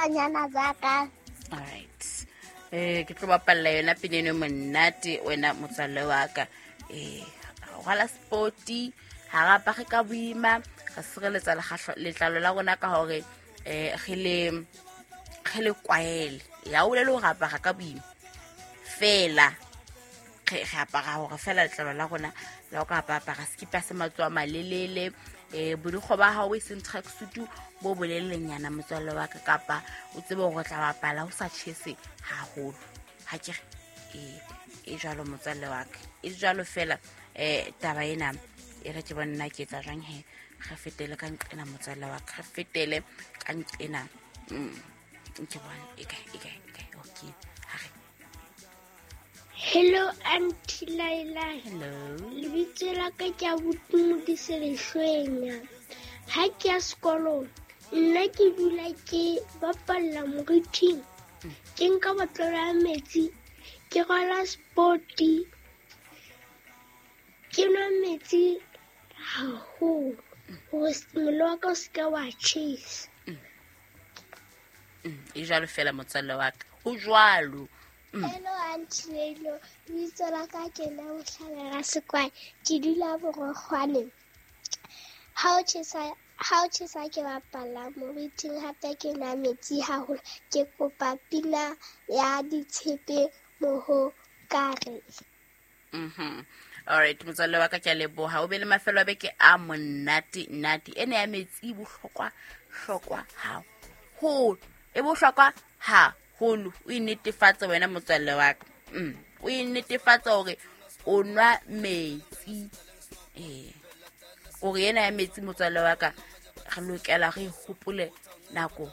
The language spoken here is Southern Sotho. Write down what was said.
Bashanyana ba ka. Alright, ke tlo bapalla yona pina eno e monate, wena motswalle wa ka. Rwala spoti, ha re apare ka boima, re sireletsa letlalo la rona ka hore re le kwaele. Ya o bolele hore apara ka boima fela, re apara hore fela letlalo la rona la o ka apara sekipa se matsoho a malelele, borikgwe ba hao e seng tracksuit bo bolelelenyana, motswalle wa ka, kapa o tsebe hore o tla bapala ho sa tjhese haholo. Ha ke re e jwalo, motswalle wa ka, e jwalo fela. Taba ena e re ke bone nna ke etsa jwang he. Re fetele ka nqena, motswalle wa ka, re fetele ka nqena. Ke bone e kae, e kae, e kae? Okay, ha re. Hello, Auntie Laila. Hello. Lebitso la ka ke abuti Modise Lehlwenya. Ha ke ya sekolong, nna ke dula ke bapalla moriting. Ke nka botlolo ya metsi, ke rwala spoti, ke nwa metsi haholo hore mmele wa ka o se ke wa tjhesa. E jwalo fela, motswalle wa ka, ho jwalo. Hello, Auntie Leilo. Lebitso la ka ke nna Mohlala Rasekwai. Ke dula Borokgwane. Ha o tjhesa ke bapala moriting, hape ke nwa metsi haholo. Ke kopa pina ya Ditshepe Mohokare. Alright, motswalle wa ka, ke a leboha. O be le mafelo a beke a monate nate. Ena ya metsi e bohlokwa hlokwa haholo, e bohlokwa haholo. O e netefatse wena, motswalle wa ka. O e netefatse hore o nwa metsi, gore ena ya metsi, motswalle wa ka, re lokela re e hopole nako.